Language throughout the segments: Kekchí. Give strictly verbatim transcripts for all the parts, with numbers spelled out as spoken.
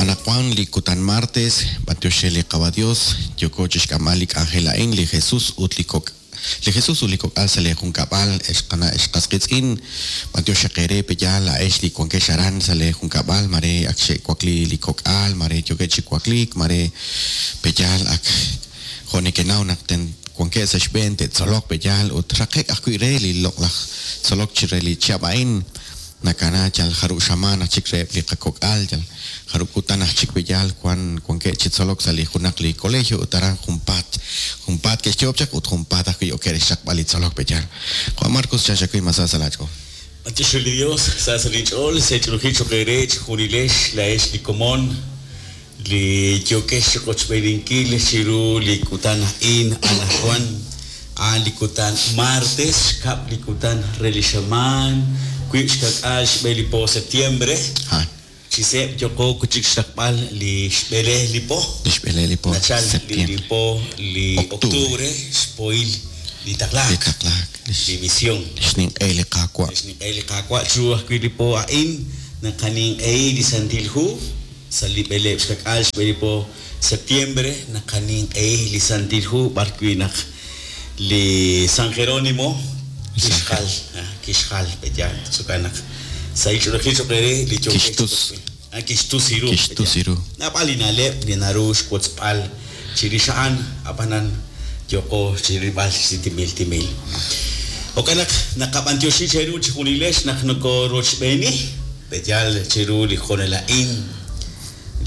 Anaqwan li kutan martes, b'antiox re li Qawa' Dios, yooko chixk'amb'al li k'anjel a'in, li Jesus ut li kok' li Jesus ut li kok'al sa' lee junkab'al, ex qana' ex qas qiitz'in, b'antiox xaq eere pe'yaal laa'ex li wankex aran sa' lee junkab'al, mare ak xe'wakli li kok'al, mare yookeb' chi wakliik, mare pe'yaal ak jo' nekenaw naq ten wankeb' sa' xb'een te'tzoloq pe'yaal ut raqe'k ajwi' re li loq'laj tzolok chi re li chihab' a'in nakana yal jarub' xamaan aj chik reheb' li qakok'al, yal jarub' kutan aj chik pe'yaal wan wankeb' chi tzolok sa' li junaq li colegio ut aran junpaat junpaat ke'xyoob' chaq ut junpaat ajwi' okeb' re xraqb'al li tzolok pe'yaal. Juan Marcos chanxakuy masa sa' laach'ool. B'antiox re li Dios, sa' sa' linch'ool, sech'olojil choq' eere chijunilex laa'ex li komon li yookeb' chiqochb'eeninkil chiru li kutan a'in anaqwan a'an li kutan martes, xkab' li kutan re li xamaan, wiib' xkak'al xb'e li po septiembre. Ha, Chi seeb' yooko chik xraqb'al li xb'ele li po. li xb'ele li po Nachal li li septiembre. po li Octubre. octubre, xpoil li Li taqlaak, taqlaak, li li misión. xninq'e li Qaawa'. Xninq'ehi li Qaawa' chiru ajwi' li po a'in naqaninq'ehi li Santil Hu sa' li b'eleeb' xkak'al xb'e li po septiembre naqaninq'ehi li Santil Hu b'arwi' naq li San Jerónimo kixjal ah, kixjal pe'yaal tz'ukan naq sa' ich'olojil choq' eere li yookeb' Kixtus. ah, kixtus iru Kixtus iru. Naab'al li na'leb' li naru xwotzb'al chirix a'an ab'anan yooko chirilb'al chi timil timil. Jo'kan naq naqab'antioxi cheru chijunilex naq nokorochb'eeni pe'yaal chiru li jonel a'in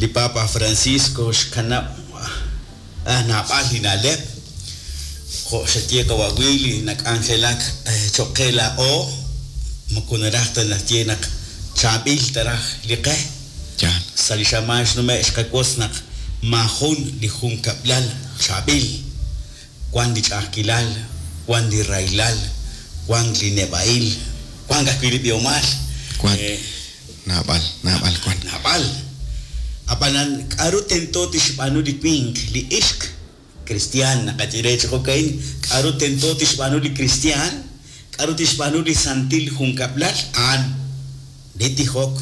li Papa Francisco xkanab' ah, naab'al li na'leb' jo' xaye qawa' Willy nak'anjelak eh, choq' qe laa'o moko naraj ta naxye naq chaab'il taraj li qe. Yaal. Sa' li xamaan xnume' xqawotz naq maajun li junkab'lal chaab'il, wan li ch'a'ajkilal, wan li rahilal, wan li neb'a'il, wan ajwi' li b'ihomal. Wan. Eh, Naab'al, naab'al wan. naab'al. Ab'anan k'aru tento tixb'aanu li winq, li ixq cristian naqaye re chi jo'ka'in, k'aru tento tixb'aanu li cristian, k'aru tixb'aanu li santil junkab'lal, a'an li tijok,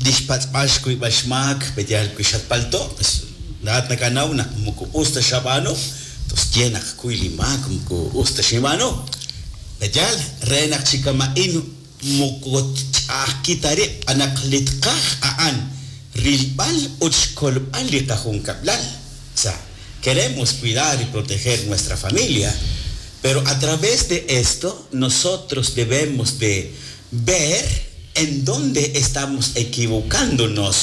li xpatz'b'al xkuyb'al xmaak, pe'yaal wi xatpalto', pues laa'at nakanaw naq moko us ta xab'aanu, tos ye naq kuy li maak moko us ta xinb'aanu. Pe'yaal re naq chi kama'in moko ch'a'ajki ta rib' anaq li tqaj a'an rilb'al ut xkolb'al li qajunkab'lal. O sea, queremos cuidar y proteger nuestra familia, pero a través de esto nosotros debemos de ver en dónde estamos equivocándonos,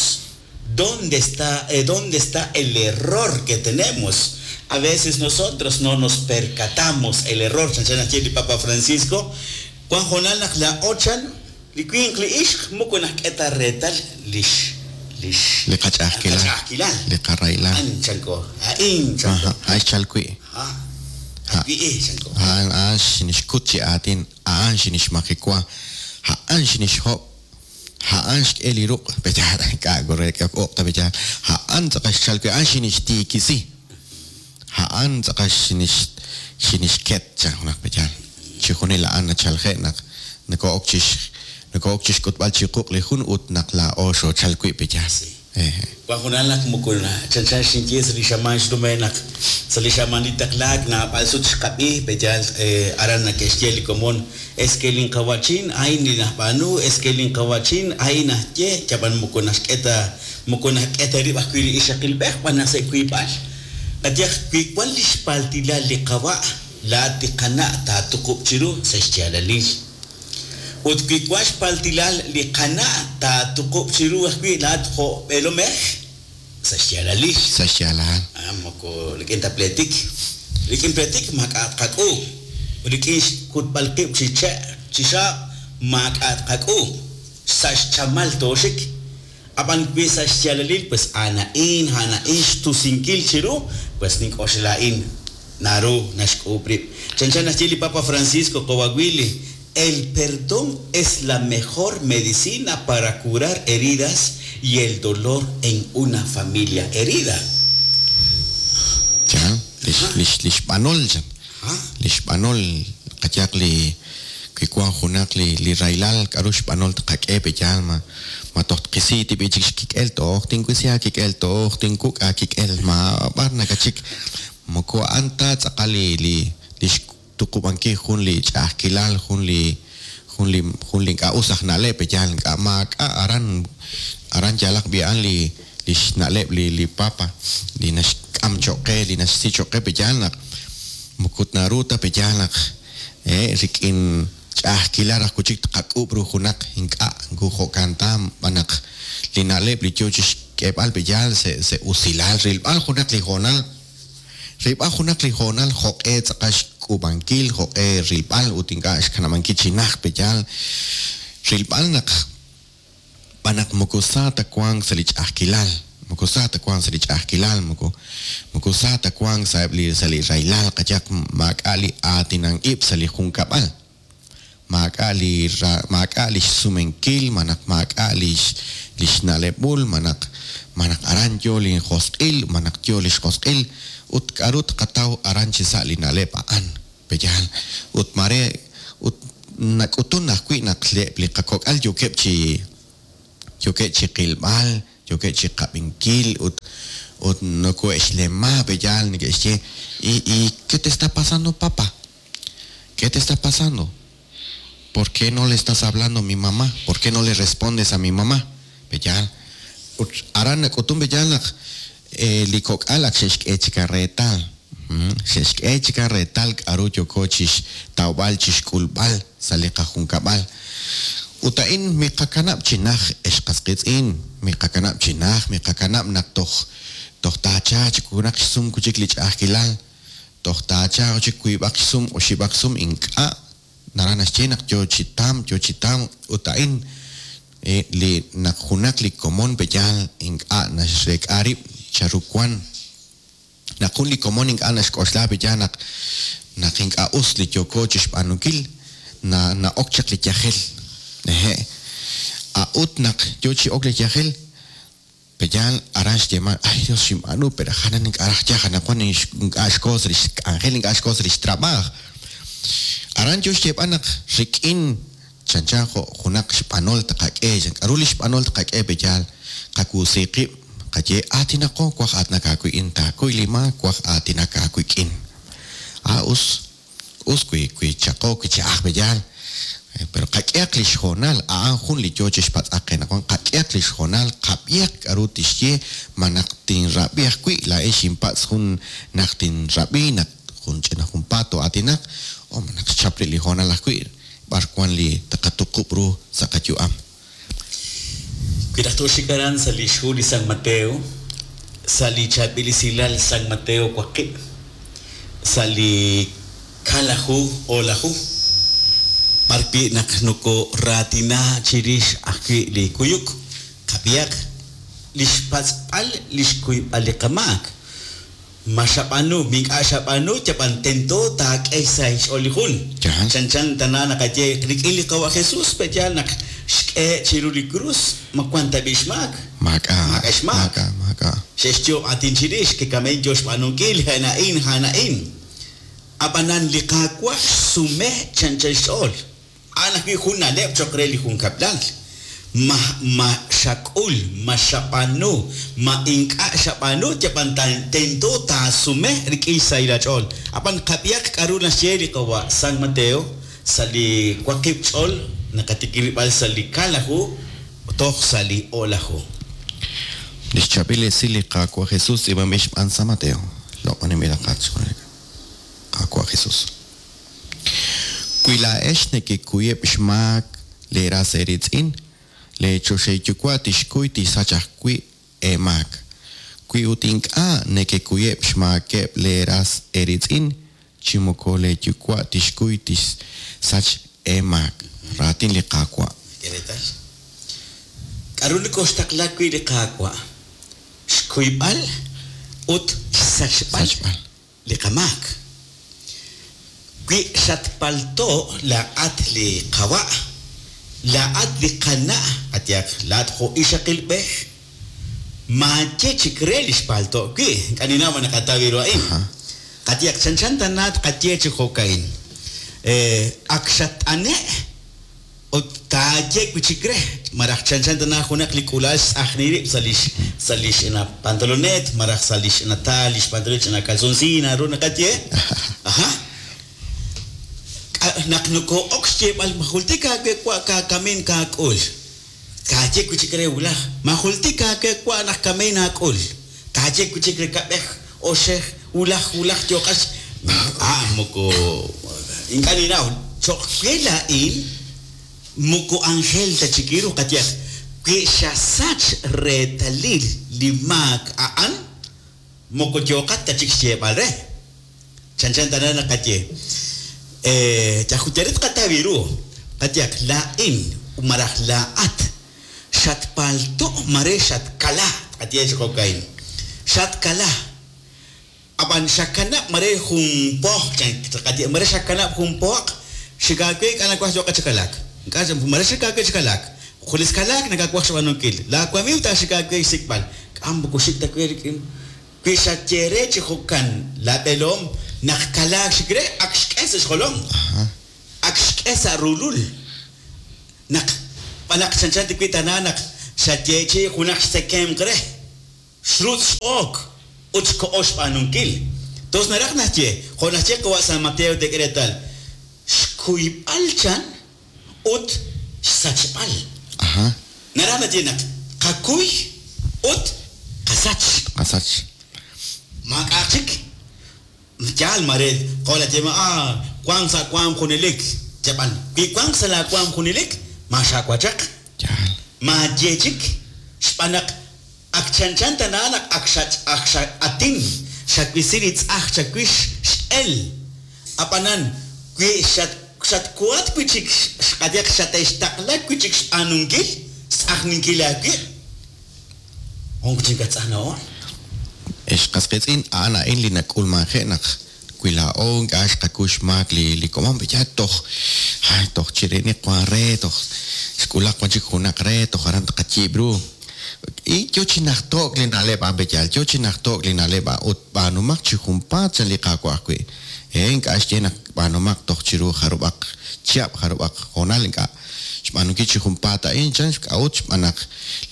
dónde está, eh, dónde está el error que tenemos. A veces nosotros no nos percatamos el error. Chanchan li Papa Francisco, Juan Jonal naq la ochan, li winq li ixq moko nak'eta reetal lix lix Li qach'a'ajkilal. qach'a'ajkilal. Li qarahilal. An chanko, a'in chanko. Aha, a'an xchal wi'. Ha. Ha. Wi' eh chanko. A'an a'an xinixkut chi aatin, a'an xinixmajiwa, a'an xinixhob', a'an xk'e li ruq' pe'yaal ink'a' re k'e uq' ta pe'yaal, a'an tz'aqal xchal wi', a'an xinixtiikisi, a'an tz'aqal xinix xinixket chan junaq pe'yaal. Chijunil a'an nachalje' naq nako'ok chix nako'ok chixk'utb'al chiquq' li jun ut naq laa'o xoochal wi' pe'yaal. Sí. Eh, eh. Juan Jonal naq moko na chanchan xinye sa' li xamaan xnume' naq sa' li xamaan li taqlaak naab'al sut xqab'i pe'yaal eh, aran nake'xye li komon es que linqawachin a'in li najb'aanu, es que linqawachin a'in najye, yab'an moko naxk'e ta moko naxk'e ta rib' ajwi' li ixaqilb'ej b'an naq sa' wiib'al. Qayaj wi wan li xpaltilal li qawa' laa'at li qana' taatuqub' chiru sa' xyaalalil. Ut wi wan xpaltilal li qana' taatuqub' chiru ajwi' laa'at jo' b'eelomej sa' xyaalalil. Sa' xyaalal. Ah, moko rik'in ta pletik. Rik'in pletik maak'a' tqak'u. Rik'in xkutb'al qib' chi che' chi xaab' maak'a' tqak'u. Sa' xchamal tooxik. Ab'an wi sa' xyaalalil, pues a'an a'in, a'an a'in xtusinkil chiru, pues nink'oxla a'in naru naxk'uub' rib'. Chanchan naxye li Papa Francisco Kowawili, el perdón es la mejor medicina para curar heridas y el dolor en una familia herida. Yaal, lix lix lix b'anol chan. Ah, Lix b'anol qayaq li Wi wank junaq li li rahilal k'aru xb'anol tqak'e pe'yaal ma ma toj tqisi tib'i chik xkik'el toj tinwisi aakik'el toj tinkuk' aakik'el ma b'ar nakachik moko a'an ta tz'aqal li li li xtuqub'ankil jun li ch'a'ajkilal jun li jun li jun li ink'a' us aj na'leb' pe'yaal ink'a' maak'a' aran aran yalaq b'i a'an li li xna'leb' li li papa li naxk'am cho'q qe li naxsi cho'q qe pe'yaal naq moko naru ta pe'yaal naq eh rik'in ch'a'ajkilal raj wi' chik tqak'ub' ru junaq ink'a' nku jo'kan ta b'an naq li na'leb' li yo chixk'eeb'al pe'yaal se se usilal rilb'al junaq li hoonal rilb'al junaq li hoonal jo'q'e tz'aqal xk'uub'ankil jo'q'e rilb'al ut ink'a' xkanab'ankil chi najt pe'yaal rilb'al naq b'an naq moko sa ta wank sa' li ch'a'ajkilal moko sa ta wank sa' li ch'a'ajkilal moko moko sa ta wank sa' eb' li sa' li rahilal qayehaq maak'a' li aatinan ib' sa' li junkab'al maak'a' li maak'a' li xsumenkil malaj maak'a' li li xna'leb'ul malaj malaj aran yo li josq'il malaj yo li xjosq'il ut k'aru tqataw aran chi sa' li na'leb' a'an pe'yaal ut mare ut nak'utun ajwi' naq eb' li qakok'al yookeb' chi yookeb' chi qilb'al yookeb' chi qab'inkil ut ut nokohe'xlema pe'yaal neke'xye y y ¿qué te está pasando papá? ¿Qué te está pasando? ¿Por qué no le estás hablando a mi mamá? ¿Por qué no le respondes a mi mamá? Pe'yaal ut aran nak'utun pe'yaal naq li kok'al ak xe'xk'e chik reetal xe'xk'e chik reetal k'aru yooko chixtawb'al chixk'ulb'al sa' li qajunkab'al ut a'in miqakanab' chi naj ex qas qiitz'in miqakanab' chi naj miqakanab' naq toj toj taacha chik junaq xsum chik li ch'a'ajkilal toj taacha chik wiib'aq xsum oxib'aq xsum ink'a' naraj naxye naq yo chi tam yo chi tam ut a'in li naq junaq li komon pe'yaal ink'a' naxrek'a rib' charu wan naq jun li komon ink'a' naxk'oxla pe'yaal naq naq ink'a' us li yooko chixb'aanunkil na na'ok chaq li yajel eje a'ut naq yo chi ok li yajel pe'yaal aran xyeeman ay Dios xinb'aanu pero janan ink'a' raj yaj anaqwan ink'a' xkoos li xk'anjel ink'a' xkoos li xtrab'aaj aran yo xyeeb'al naq rik'in chanchan jo' junaq xb'anol tqak'e k'aru li xb'anol tqak'e pe'yaal qakuusi qib' qaye aatinaqo waj aatinak aawik'in taakuy li maak waj aatinak aawik'in a us us wi wi chaqo wi cha'aj pe'yaal pero qak'ehaq li xhoonal a'an jun li yo chixpatz'aq qe naq qak'ehaq li xhoonal qab'ihaq k'aru tixye ma naq tinrab'i ajwi' laa'ex xinpatz' jun naq tinrab'i naq jun ch'ina junpaat aatinak o ma naq xchap li hoonal ajwi' b'ar wan li taqatuqub' ru sa' qayu'am. Wi raj tooxik aran sa' li xhu li San Mateo sa' li chaab'il esilal San Mateo waqib' sa' li kalaju o'laju b'ar wi' naq nokoraatina chirix ajwi' li kuyuk qab'ihaq li xpatz'b'al li xkuyb'al li qamaak ma xab'aanu mink'a' xab'aanu yab'an tento taak'e sa' xch'ool li jun chanchan tana naqaye rik'in li qawa' Jesús pe'yaal naq xk'e chiru li krus ma wan ta b'i xmaak maak'a' maak'a' xmaak maak'a' xe'xyoob' aatin chirix kikamen yo xb'aanunkil ja'na'in ja'na'in ab'anan li Qaawa' xsume chanchan xch'ool a'an ajwi' jun na'leb' cho'q re li junkab'lal ma ma xak'ul ma xab'aanu ma ink'a' xab'aanu yab'an tento taasume rik'in xsahil aach'ool ab'an qab'ihaq k'aru naxye li qawa' San Mateo sa' li waqib' ch'ool naqatikilib'al sa' li kalaju toj sa' li o'laju. Li xchaab'il esil li Qaawa' Jesús tz'iib'anb'il xb'aan San Mateo loq'oninb'il Qaawa' Jesús. Wi laa'ex nekekuyeb' xmaak leeras eeritz'in leechoxahil yuwa' tixkuy tixsach ajwi' eemaak. Wi ut ink'a' nekekuyeb' xmaakeb' leeras eeritz'in chi moko leeyuwa' tixkuy tixsach eemaak. Raatin li Qaawa'. Reetal. K'aru nikoxtaqla wi' li Qaawa' xkuyb'al ut xsachb'al li qamaak. Wi xatpalto laa'at li qawa' laa'at li qana' atyaq laa'at jo' ixaqilb'ej maaye chik re li xpalto wi' k'aninaw ma naqataw ru a'in qatyaq chanchan tanaat qaye chi jo'ka'in Ak xat'ane' ut taaye wi' chik re maraj chanchan tana junaq li k'uula'al xtz'ajni rib' sa' lix sa' lix ch'ina pantalonet maraj sa' lix ch'ina taal lix pantalonet ch'ina calzoncillo naru naqaye. Aja. Naq nokoo'ok xyeeb'al ma jultik aawe wa' kaakamin kaak'ul. Taaye wi' chik re wulaj ma jultik aawe wa' naq kamin aak'ul. Taaye wi' chik re kab'ej oxej wulaj wulaj yooqax ah moko ink'a' ninnaw cho'q we laa'in moko anjel ta chik ru qayehaq wi xasach reetalil li maak a'an moko yooqat ta chik xyeeb'al re. Chanchan tana naqaye yajutarit qataw ru qayehaq laa'in maraj laa'at xatpalto' mare xatkala qaye chi jo'ka'in xatkala ab'an xakanab' mare jun poj qaye mare xakanab' jun poq xikaawe ink'a' nawaj yooqat chi kalak ink'a' mare xikaawe chi kalak junes kalak nakawaj xb'aanunkil laawamiiw taaxikaawe xsik'b'al k'am moko xik ta we rik'in wi xaye re chi jo'kan laab'eloom naq kalaak xik re ak xk'e sa' xjolom ak xk'e sa' rulul naq b'anaq chanchan ti wi' tana naq xayeechi junaq xtzekemq re xrutz' x'ok ut xko'o xb'aanunkil. Tos naraj naxye jo' naxye qawa' San Mateo tek'e reetal xkuyb'al chan ut xsachb'al. Ajá. Naraj naxye naq qakuy ut qasach. Qasach. Maak'a' chik yaal mare jo' naxye ah wank sa' waam junelik yab'an wi wank sa' laawaam junelik ma xaawachaq Yaal. maaye chik xb'aan naq ak chanchan tana naq ak xach ak xa'atin xawisi li tz'aj chawix x'el ab'anan wi xat xatkuhat wi' chik xqayeq xate'xtaqla wi' chik xb'aanunkil xtz'ajninkil aawib' onk chik atz'ajna'oon. Ex qas qiitz'in a'an a'in li nak'ulmanje' naq wi laa'o ink'a' xqakuy xmaak li li komon ya toj ay toj chiriniq wan re toj xk'ulaq wan chik junaq re toj aran tqayiib' ru y yo chi najto'k li na'leb' a'an b'eyal yo chi najto'k li na'leb' a'an ut b'aanumaq chi junpaat chan li Qaawa' ajwi' eh ink'a' xye naq b'aanumaq toj chiru jarub'aq chihab' jarub'aq hoonal ink'a' xb'aanunkil chi junpaat a'in chan xk'a'ut xb'aan naq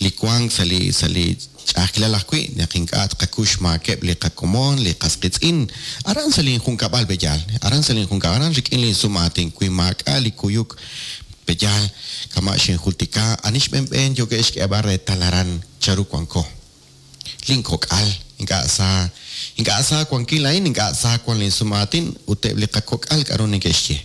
li wank sa' li sa' li ch'a'ajkilal ajwi' naq ink'a' tqakuy xmaakeb' li qakomon li qas qiitz'in aran sa' linjunkab'al b'eyal aran sa' linjunkab'al aran rik'in linsum'aatin wi maak'a' li kuyuk b'eyal kama' xinjultika ani xb'enb'een yookeb' xk'eeb'al reetal aran charu wanko linkok'al ink'a' sa ink'a' sa wankil a'in ink'a' sa wan linsum'aatin ut eb' li qakok'al k'aru neke'xye.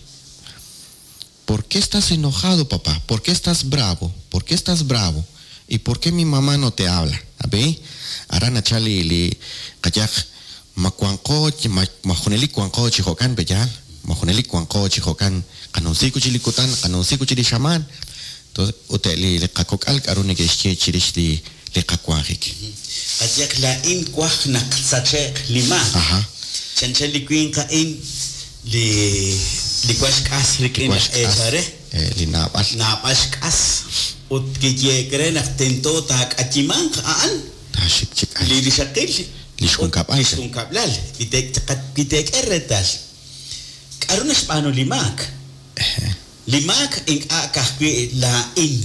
¿Por qué estás enojado, papá? ¿Por qué estás bravo? ¿Por qué estás bravo? ¿Y por qué mi mamá no te habla? ¿Ve? Aran nachal li li qayaq ma wanqo ma ma junelik wanqo chi jo'kan b'eyal ma junelik wanqo chi jo'kan qanunsiku chi li kutan qanunsiku chi li xamaan. Entonces ut li li qakok'al k'aru neke'xye chirix li li qawanjik. Qayehaq laa'in waj naq sache'q li maak. Ajá. Chanchan li winq a'in li li wan xk'as rik'in Wan laj xk'as, eechal re. eh, li naab'al. Naab'al xk'as ut kiyeek re naq tento taak'ayimanq a'an Taaxik chik ay. li rixaqil Li xjunkab'al. li xjunkab'lal li te- li teek'e reetal. K'aru naxb'aanu li maak? Li maak ink'a' ka'ajwi' laa'in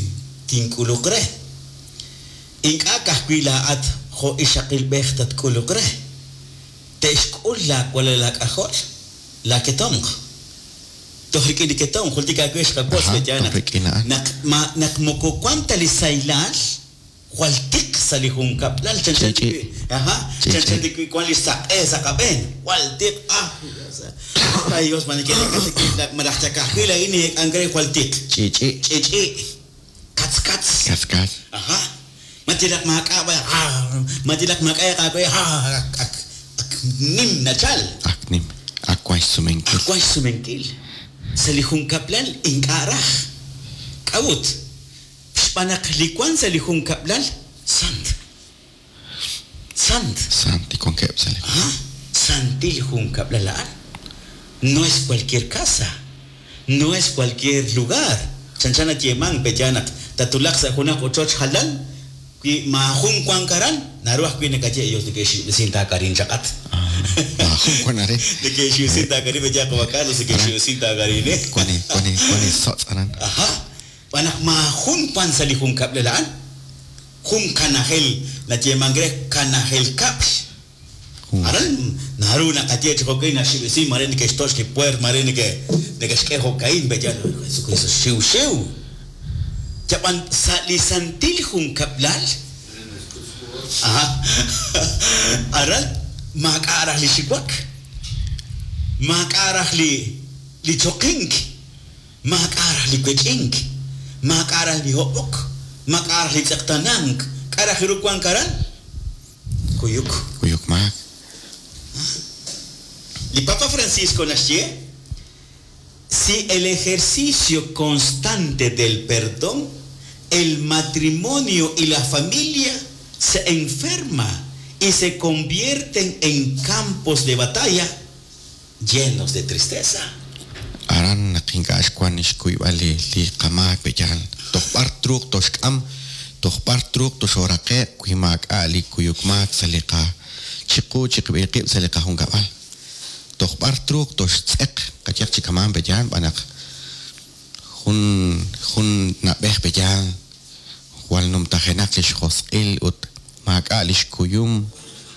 tink'uluq re. Ink'a' ka'ajwi' laa'at jo' ixaqilb'ej tatk'uluq re. Te'xk'ul laawalal laak'ajol laaketomq. Toj rik'in li ketomq jultik aawe xqawotz Ajá, b'eya toj naq rik'in a'an. naq ma naq moko wan ta li saylal jwal tiq sa' li junkab'lal chanchan Ch'ich'i. ti wi' ajá Ch'ich'i. chanchan ti wi' wan li saq'e sa' qab'een jwal tiq ah ay Dios ma neke'reek'a maraj chakajwi' laa'in neke'k'ank re jwal tiq Ch'ich'i. ch'ich'i katz katz Kaskal. ajá matilaq maak'a' b'ay ah matilaq maak'a' aawe ah ak ak ak nim nachal Ak nim. Ak wan xsumenkil. ak wan xsumenkil sa' li junkab'lal ink'a' raj k'a'ut xb'aan naq li wan sa' li junkab'lal sant sant Sant li wankeb' sa' li Ajá. Santil junkab'lal a'an. No es cualquier casa, no es cualquier lugar. Chanchan nayeemank peya naq tatulaq sa' junaq ochoch jalan wi maajun wan karan naru ajwi' nakaye ellos neke'xib'esin taakarin chaqat. Maajun wan arin. Neke'xiwsin taakari peya qawa' Carlos, neke'xiwsin taakarin, eh. Wan li wan li wan li sotz' aran. Aha. Xb'aan naq maajun wan sa' li junkab'lal a'an. Jun kanajel nayeemank re kanajel kab'l. Aran naru naqaye chi jo'kan naxib'isi mare neke'xtoch li puer, mare neke neke'xk'e jo'ka'in peya Jesucristo xiwxiw. Yab'an sa' li santil junkab'lal aha aran maak'a' raj li xiwak, maak'a' raj li li choqink, maak'a' raj li wech'ink, maak'a' raj li hob'ok, maak'a' raj li tz'eqtanank. K'a' raj ru wank aran? Kuyuk. Kuyuk maak. Li Papa Francisco naxye, si el ejercicio constante del perdón, el matrimonio y la familia se enferma y se convierten en campos de batalla llenos de tristeza. Aran naq ink'a' xwan xkuyb'al li li qamaak pe'yaal. Toj b'ar truuq toxk'am, toj b'ar truuq toxooraqe'q wi maak'a' li kuyuk maak sa' li qa chiqu chiqib'il qib' sa' li qajunkab'al. Toj b'ar truuq toxtz'eq qayehaq chi kamaan pe'yaal xb'aan naq jun jun na'b'ej pe'yaal jwal numtajenaq li xjosq'il ut maak'a' li xkuyum